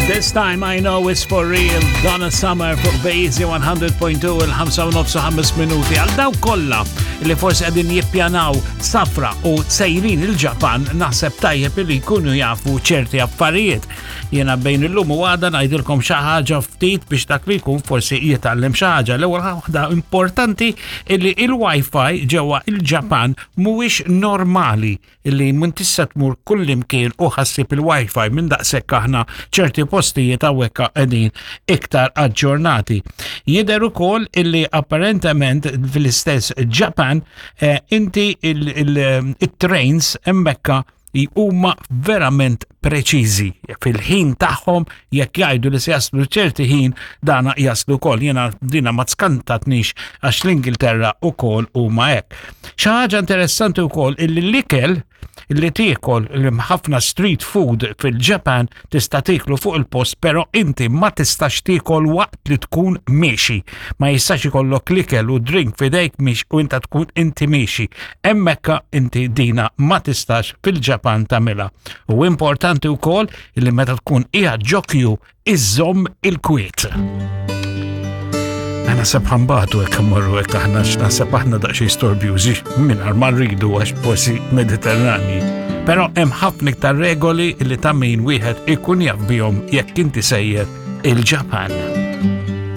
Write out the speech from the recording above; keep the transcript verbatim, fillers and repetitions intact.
This time I know it's for real. Donna Summer fuq B-Easy one hundred point two, il-ħamsa u nofs u ħames minuti. Għal dawk kollha li forsi qegħdin jippjanaw safra u sejrin il-Ġapan, naħseb tajjeb li jkunu jafu ċerti affarijiet. Jiena bejn illum u għada ngħidilkom xi ħaġa ftit biex dak li jkun forsi jitgħallem xi ħaġa. L-ewwel waħda importanti illi il-Wi-Fi ġewwa il-Ġapan mhuwiex normali, illi mun tista' tmur kullimkien u ħa ssib il-Wi-Fi minn daqshekk aħna ċerti postijiet hawnhekk qegħdin iktar aġġornati. Jidher ukoll illi apparentement fl-istess Ġapan eh, inti il-trains hemmhekk huma verament preċiżi fil-ħin tagħhom. Jekk jgħidu li se jaslu ċerti ħin, dana jaslu wkoll. Jiena dina ma skantatnix għax l-Ingilterra ukoll huma hekk. Xi ħaġa interessanti wkoll illi l-ikel illi tiekol li ħafna street food fil-Ġapan tista' tieklu fuq il-post, però inti ma tistax tiekol waqt li tkun miexi. Ma jistax ikollok l-ikel u drink f'idejk miex u inta tkun inti miexi. Hemmhekk inti dina ma tistax fil-Ġapan tagħmilha. U importanti wkoll illi meta tkun qiegħed ġo queue iżżomm il-kwiet. Naħseb ħa nbatu hekk mmorru hekk aħna, x'naħseb aħna daqsxejn storbjużi mingħajr ma rridu għax forsi Mediterrani. Però hemm ħafna iktar regoli li ta' min wieħed ikun jaf bihom jekk inti sejjer il-Ġapan.